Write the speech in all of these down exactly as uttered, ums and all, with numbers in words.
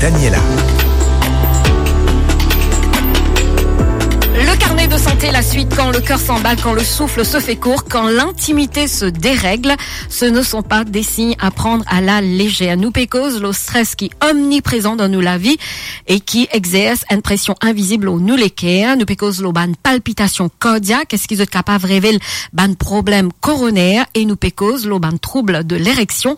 Daniela. Le carnet de santé, la suite, quand le cœur s'emballe, quand le souffle se fait court, quand l'intimité se dérègle, ce ne sont pas des signes à prendre à la légère. Nou pe koz lo stres ki omniprezan dan nou lavi e ki exers enn presion invizib lor nou leker. Nou pe koz lo bann palpitasion kardiak, eski zot kapav revel bann problem koroner, e nou pe koz lo bann troub de lereksion,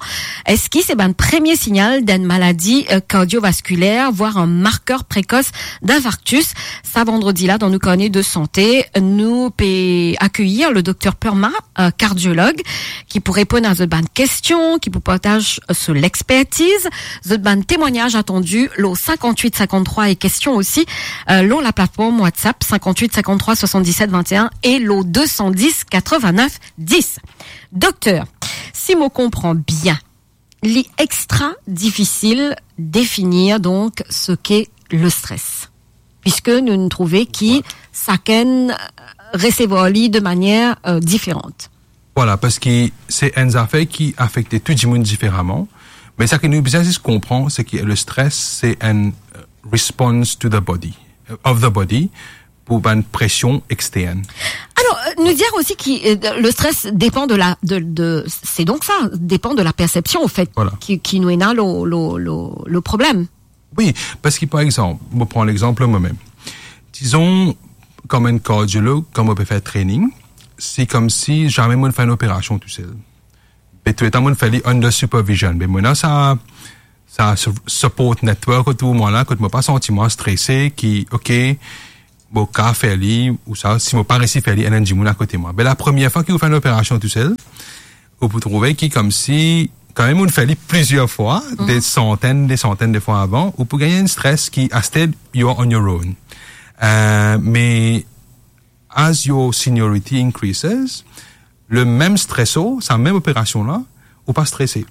eski se bann premie signal d'enn maladi, euh, kardiovaskuler, voire un marqueur précoce d'infarctus. Sa vandredi la, dan nou karnet de santé, nou pe akeyir le docteur Perma, euh, kardiolog, ki pou reponn a zot bann kestion, ki pou partaz, euh, so lexpertiz. Zot bann temwagnaz atandi lo cinquante-huit cinquante-trois e kestion osi, euh, lor laplatform WhatsApp cinquante-huit cinquante-trois soixante-dix-sept vingt et un e lo deux cent dix quatre-vingt-neuf dix. Dokter, si mo konpran bien, li extra difisil definir donk seki le stres, piski nou, nou trouve ki sakenn, euh, resevwar li de manier, euh, diferan. Vwala, parski se enn zafer ki afekte tou dimoun diferaman, me seki nou bizin zis konpran, seki le stres, se enn, euh, response to the body, euh, of the body, pou bann presion extern. Alors, euh, nous dire aussi que, euh, le stress dépend de la, de, de, c'est donc ça, dépend de la perception, au fait, Voilà. qui, qui nous éna le, le, le, le problème. Wi, parski, par exanp, mo pran lexanp mwa mem. Dizon, kom enn kardiolog, kan mo pe fer training, se koumsi zame mo fer enn operasion tousel. Be touletan mo fer li under supervision. Be mo ena sa, sa su-, support network otour mwa la, kot mo pa santi mwa strese, ki, ok, mo kapav fer li, ou sa, si mo pa resi fer li, ena enn dimoun akote mwa. Be la premie fwa ki ou fer enn operasion tousel, ou pou trouve ki koumsi, kan mem ou fer li plizier fwa, Mhm. de santenn, de santenn de fwa avan, ou pou gagn enn stres ki, aster, you are on your own. Euh, me as your seniority increases, le mem streso, sa mem operasion la, ou pa strese.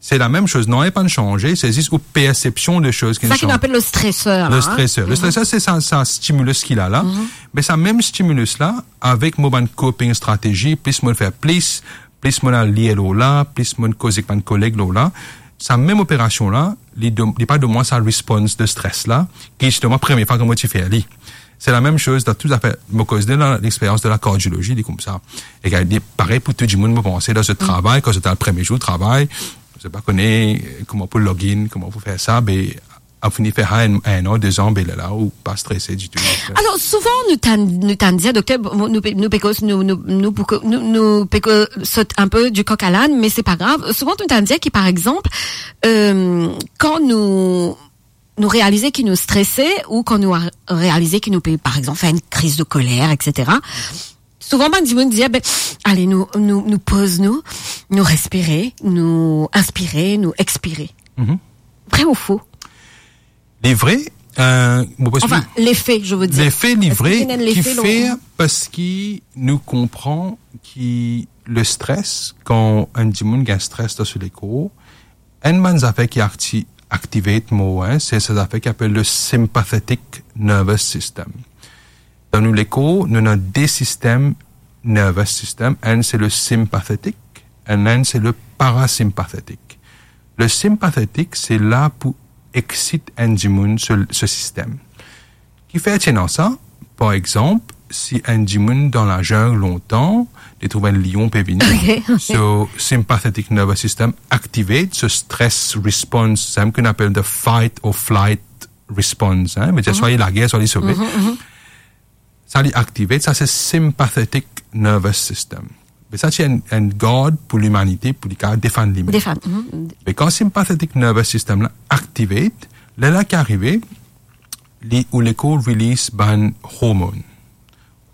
Se la mem soz, nanye pa'nn sanze, se zis ou persepsion de soz ki Sa ki nou apel le stresor, la, Le hein. stresor. Le Mhm. stresor, se sa, sa stimulus ki la, la. Mhm. Me sa mem stimulus la, avek mo bann coping strategy, plis mo fer plis, plis mo al lir lor la, plis mo koz ek bann koleg lor la, sa mem operasion la, li donn, li pa donn mwa sa response de stres la, ki zisteman premie fwa ki mo ti fer li. Se la mem soz dan tou zafer, mo koz de la, lexperyans de la kardiolozi, li koumsa. E li parey pou tou dimoun, mo panse, dan zot travay, kan zot al premie zour travay, zot pa kone kouma pou log in, kouma pou fer sa, be, a fini fer sa enn, enn an, de zan, be lerla ou pa strese ditou. Alors, souvent, nous t'an-, nous t'an dit, docteur, bon, nous, nous, nous, nous, nous, nous, nous, nous, nous, nous, sot un peu du coq à l'âne, mais c'est pas grave. Souvent, nous t'an dit que, par exemple, euh, quand nous, nou realize ki nou strese ou kan nou a-, realize ki nou pe, par exanp, fer enn kriz de koler, et cetera. Souvan bann dimoun dir, "Be, ale, nou, nou, nou poz nou, nou respire, nou inspire, nou expire." Mhm. Vre ou fo? Li vre, euh, mo pans Enfin, ki l'effet, je veux dire. Lefe, li Eski vre, ena enn ki lefe lor fer parski nou konpran ki le stres, kan enn dimoun gagn stres dan so lekor, enn bann zafer ki akti-, activate more, hein, se, se zafer ki apel le sympathetic nervous system. Dan nou lekor, nou ena de sistem nervous system. Enn se le sympathetic, e enn se le parasympathetic. Le sympathetic, se la pou exit enn dimoun so, so sistem. Kifer ti ena sa? Par exanp, si enn dimoun dan lazeng lontan, li trouv enn lion pe vini, Ok, ok. so sympathetic nervous system activate, so stress response, sa ki nou apel the fight or flight response, hein, vedir Mhm. swa li lager, swa li sove. Mhm, mhm. Sa li activate, sa se sympathetic nervous system. Be sa ti enn, enn gard pou limanite, pou li kapav defann limem. Defann, mhm. Me kan sympathetic nervous system la activate, lerla ki arive, li, ou lekor release bann hormone.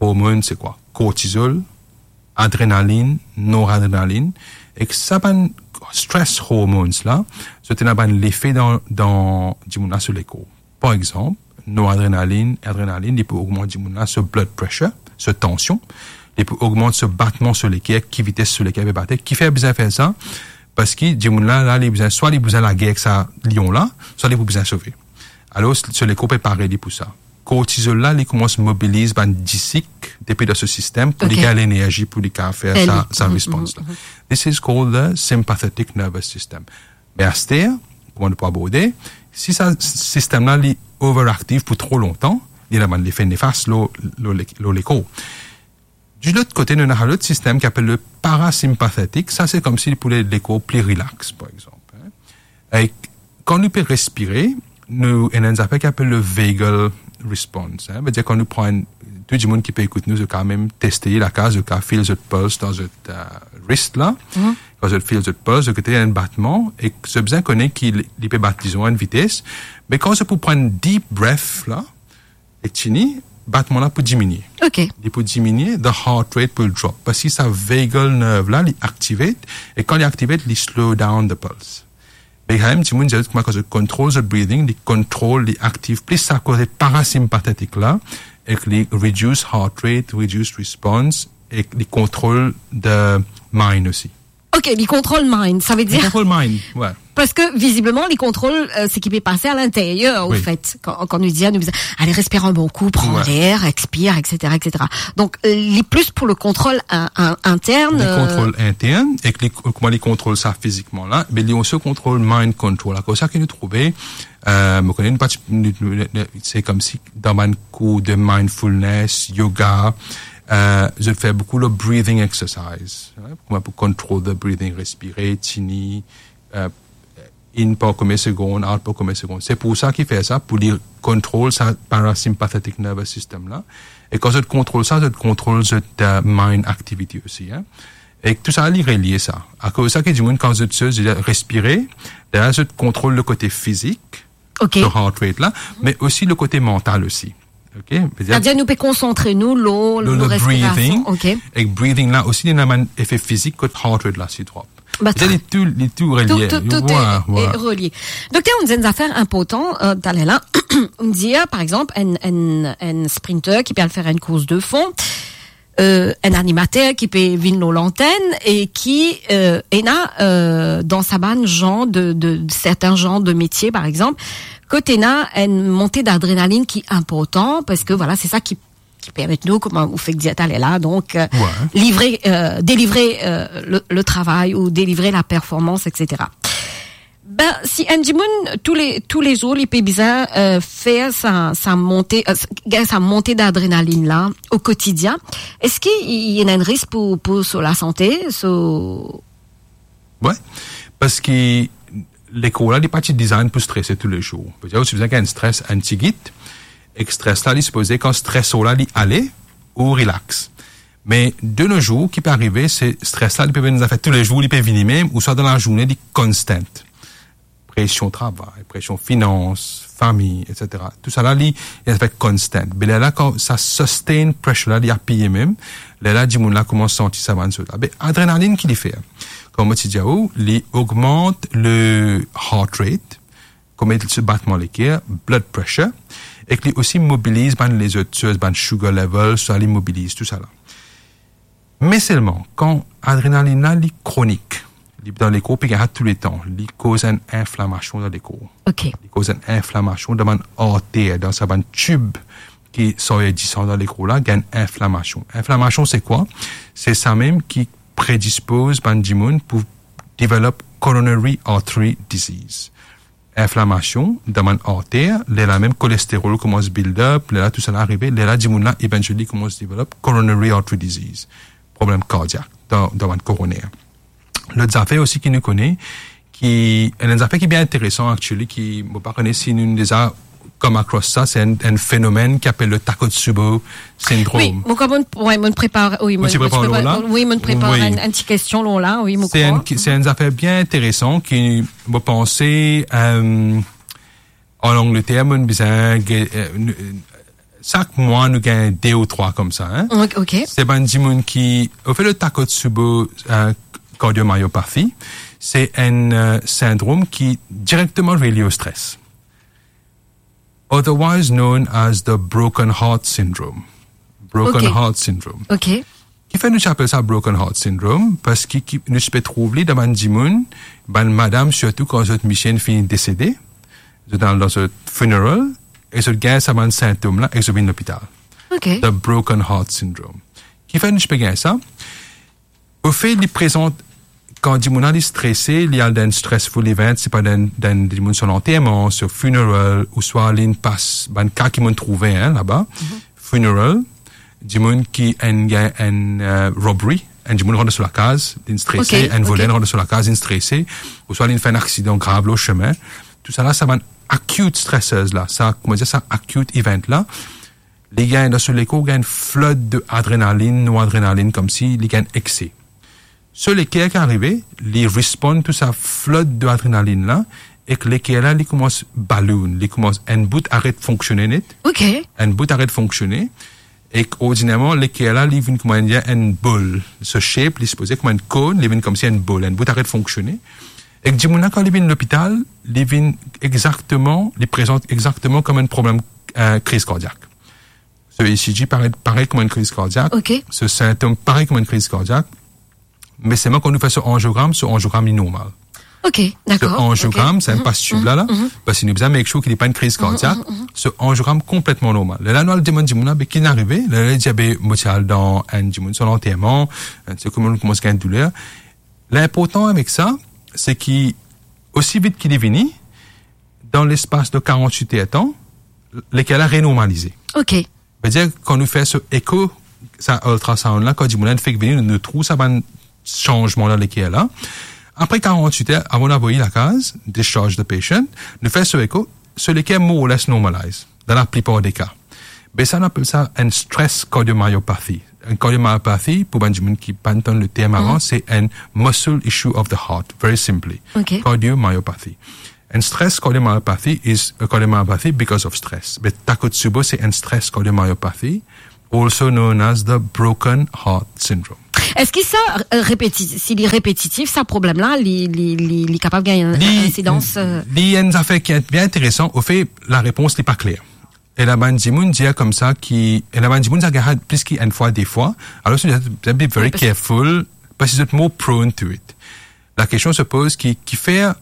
Hormone se kwa? Cortisol, adrenaline, noradrenaline, ek sa bann stress hormones la, zot ena bann lefe dan, dan dimoun la so lekor. Par exanp, noradrenaline, adrenaline, li pou ogmant dimoun la so blood pressure, so tansion, li pou ogmant so batman so leker, ki vites so leker pe bate. Kifer bizin fer sa? Parski dimoun la, la, li bizin, swa li bizin lager ek sa lion la, swa li pou bizin sove. Alor, so lekor prepare li pou sa. Cortisol la, li koumans mobiliz bann disik depi dan so sistem pou li Ok. gagn lenerzi pou li kapav fer Fer sa, li. sa Mhm, respons mhm, la. mhm. This is called the sympathetic nervous system. Me aster, kouma nou pou aborde, Si sa sistem la li overactive pou tro lontan, li ena bann lefe nefas lor, lor le-, lor lekor. Di lot kote, nou ena lot sistem ki apel le parasympathetic, sa se koumsi pou le lekor pli relax, par exanp, hein. E kan nou pe respire, nou ena enn zafer ki apel le vagal response, hein. Vedir kan nou pran, tou dimoun ki pe ekout nou, zot kapav mem teste lakaz, zot kapav feel zot pulse dan zot, euh, wrist la. Mhm. Kan zot feel zot pulse, zot kote enn batman, e zot bizin kone ki li, li pe bat, dizon, enn vites. Me kan zot pou pran deep breath la, e tini, batman la pou diminie. Ok. Li pou diminie, the heart rate pou drop. Parski sa vagal nerve la, li activate, e kan li activate, li slow down the pulse. Me kanmem, dimoun dir kouma kan zot kontrol zot breathing, li kontrol, li aktiv plis sa kote parasympathetic la, ek li reduce heart rate, reduce response, ek li kontrol the mind osi. Ok, li kontrol mind, sa ve Li dir kontrol mind, ouais. Parski vizibleman, li kontrol, euh, seki pe pase a linteryer, an Wi. fet. Kan, kan nou dir, nou bizin, ale, respir enn bon kou, pran Ouais. ler, expire, et cetera, et cetera. Donk, euh, li plis pou le kontrol in-, in-, intern, Li euh, kontrol intern, ek li, kouma li kontrol sa fizikman la, me li osi kontrol mind control. Akoz sa ki nou trouve, euh, mo kone nou pa ti, nou, nou, nou, se koumsi dan bann kour de mindfulness, yoga, euh, zot fer boukou le breathing exercise, hein, kouma pou control the breathing, respire, tini, euh, in par konbien segonn, out par konbien segonn. Se pou sa ki fer sa, pou li kontrol sa parasympathetic nervous system la. E kan zot kontrol sa, zot kontrol zot, euh, mind activity osi, hein. E tou sa, li relie sa. Akoz sa ki dimoun, kan zot, zot respire, la, zot kontrol le kote fizik, Ok. le heart rate la, me osi le kote mantal osi. Ok? Vedir Setadir nou pe konsantre nou lor, le, lor le respirasion. breathing. Ok. Ek breathing la osi, li ena bann efe fizik kot heart rate la si drop. Ba, Vedir li tou, li tou relie. Tou, tou, tou Ouais, est, ouais. est relié. Dokter, nou dir enn zafer inportan, euh, taler la. Nou dir, par exanp, enn, enn, enn sprinter ki pe al fer enn kours de fon, euh, enn animater ki pe vinn lor lantenn e ki, euh, ena, euh, dan sa bann zan de, de, sertin zan de metie, par exanp, kot ena enn monte d'adrenalinn ki inportan, parski, voilà, se sa ki, ki permet nou, kouma ou fek dir taler la, donk, euh, Ouais. livre, euh, delivre, euh, le, le travay ou delivre la performans, et cetera. Ben, si enn dimoun, toule, toulezour, li pe bizin, euh, fer sa, sa monte, euh, s-, gagn sa monte d'adrenalinn la o kotidien, eski i, i ena enn risk pou, pou so lasante, so Ouais, parski lekor la, li pa ti design pou strese toulezour. Vedir, ou ti bizin gagn stres enn tigit, ek stres la, li sipoze, kan stres la, li ale, ou relax. Me de nos jours, ki pe arive, se stres la, li pe vinn zafer toulezour, li pe vini mem, ouswa dan lazourne, li constant. Presion travay, presion finans, fami, et cetera. Tou sa la, li, li zafer constant. Be lerla, kan sa sustained pressure la, li apiye mem, lerla, dimoun la koumans santi sa bann zot la. Be adrenalinn ki li fer? Kouma mo ti dir ou, li ogmant le heart rate, kouma se batman leker, blood pressure, ek li osi mobiliz bann lezot soz, bann sugar level, sa li mobiliz tou sa la. Me selman, kan adrenalinn la, li kronik, li dan lekor, pe gagn sa touletan, li koz enn inflamasion dan lekor. Ok. Li koz enn inflamasion dan bann arter, dan sa bann tib ki sorti disan dan lekor la, gagn inflamasion. Inflamasion, se kwa? Se sa mem ki predispoz bann dimoun pou develop coronary artery disease. Inflamasion dan bann arter, lerla mem kolesterol koumans build up, lerla tou sa la arive, lerla dimoun la, eventually, koumans develop coronary artery disease, problem kardiak dan, dan bann koroner. Lot zafer osi ki nou kone, ki, enn zafer ki bien interesan, actually, ki, mo pa kone si nou deza come across sa, se enn, enn fenomenn ki apel le Takotsubo syndrome. Wi, mo krwar mo, wi, mo prepar, wi, Ou mo, ti mo prepar prepar, la? Wi, mo prepar Wi. enn, enn ti kestion lor la, wi, mo Se enn krwar. ki, se enn zafer bien interesan ki, mo panse, euh, an Angleter, mo bizin ge-, euh, nou, sak mwa, nou gagn de ou trwa koumsa, hein. Ok, ok. Se bann dimoun ki, anfet, le Takotsubo, euh, cardiomyopathy, se enn, euh, sindrom ki direkteman relie o stres. Otherwise known as the broken heart syndrome. Broken Ok. heart syndrome. Ok. Kifer nou ti apel sa broken heart syndrome? Parski ki, nou ti pe trouv li dan bann dimoun, bann madam, sirtou kan zot misie inn fini desede, zot al dan zot funeral, e zot gagn sa bann sintom la, e zot vinn lopital. Ok. The broken heart syndrome. Kifer nou ti pe gagn sa? Ofet, li prezant kan dimoun la li strese, li al dan stressful event, se pa dan, dan dimoun so lanterman, so funeral, ouswa li'nn pas bann ka ki mo'nn trouve, hein, laba. Funeral, dimoun ki enn, gagn enn, euh, robbery, enn dimoun rant dan so lakaz, li'nn strese, enn voler rant dan so lakaz, li'nn strese, ouswa li'nn fer enn aksidan grav lor sime. Tousala, sa bann acute stressors la, sa, kouma dir sa, acute event la, li gagn dan so lekor, gagn flood de adrenalin, noradrenalin, koumsi li gagn ekse. So leker ki arive, li respond to sa flood de adrenalin la, ek leker la, li koumans balloon, li koumans, enn bout aret fonksione net, enn bout aret fonksione, ek ordinerman, leker la, li vinn kouma enn, enn bol. So shape, li sipoze kouma enn korn, li vinn koumsi enn bol, enn bout aret fonksione. Ek dimoun la, kan li vinn lopital, li vinn exakteman, li prezant exakteman kouma enn problem, euh, kriz kardiak. So E C G parey, parey kouma enn kriz kardiak. So sintom parey kouma enn kriz kardiak. Me selman kan nou fer so angiogram, so angiogram li normal. So angiogram, sa enn pas tib la, la, parski nou bizin make sure ki li pa enn kriz kardiak. So angiogram konpletman normal. Lerla nou al demann dimoun la, be ki finn arive? Lerla li dir, be mo ti al dan enn dimoun so lanterman, enn, se kouma nou koumans gagn douler. Linportan avek sa, se ki osi vit ki li vini, dan lespas de karant-wit er tan, leker la renormalize. Vedir, kan nou fer so eko, sa ultrasound la, kan dimoun la fek vini, nou, nou trouv sa bann sanzman dan leker la. Apre karant-wit er, avan nou avoy li lakaz, discharge the patient, nou fer so eko, so leker more or less normalize, dan laplipar de ka. Be sa, nou apel sa enn stress cardiomyopathy. Enn cardiomyopathy, pou bann dimoun ki pa'nn tann le term avan, se enn muscle issue of the heart, very simply. Cardiomyopathy. Enn stress cardiomyopathy is a cardiomyopathy because of stress. Be Takotsubo, se enn stress cardiomyopathy, also known as the broken heart syndrome. Eski sa, euh, repeti-, si li repetitif, sa problem la, li, li, li, li kapav gagn enn, li, enn insidans, euh? Li enn zafer ki bien interesan. Ofe, larepons li pa kler. Ena bann dimoun dir koumsa ki, ena bann dimoun sa gagn plis ki enn fwa, de fwa. Alor, zot, zot be very careful, parski zot more prone to it. Lakestion se poz ki, kifer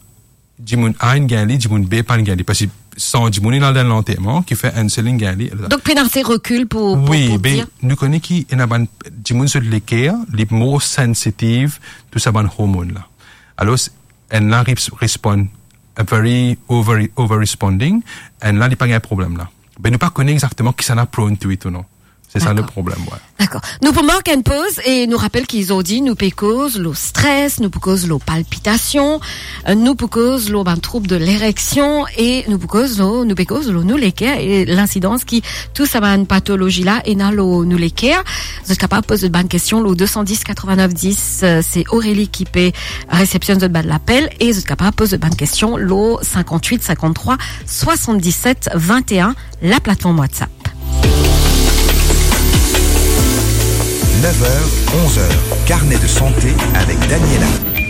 dimoun A inn gagn li, dimoun B pa'nn gagn li, parski san dimoun inn al dan lanterman, kifer enn sel inn gagn li. Donk, pena ase rekil pou, pou, wi, pou dir. Nou kone ki ena bann dimoun zot leker, li more sensitive to sa bann hormon la. Alor, enn la res-, respond a very over, over responding, enn la li pa gagn problem la. Be nou pa kone exakteman kisannla prone to it ou non. Se sa le problem, wi. Dakor. Nou pou mark enn poz e nou rapel ki zordi nou pe koz lor stres, nou pou koz lor palpitasion, euh, nou pou koz lor bann troub de lereksion e nou pou koz lor, nou pe koz lor nou leker e linsidans ki tou sa bann patolozi la ena lor nou leker. Zot kapav poz zot bann kestion lor de san dis, katreven-nef dis, euh, se Aurélie ki pe resepsionn zot bann lapel e zot kapav poz zot bann kestion lor sinkant-wit, sinkant-trwa, swasann-diset, vinte-enn, laplatform WhatsApp. Nef er, onz er, Carnet de santé avec Daniela.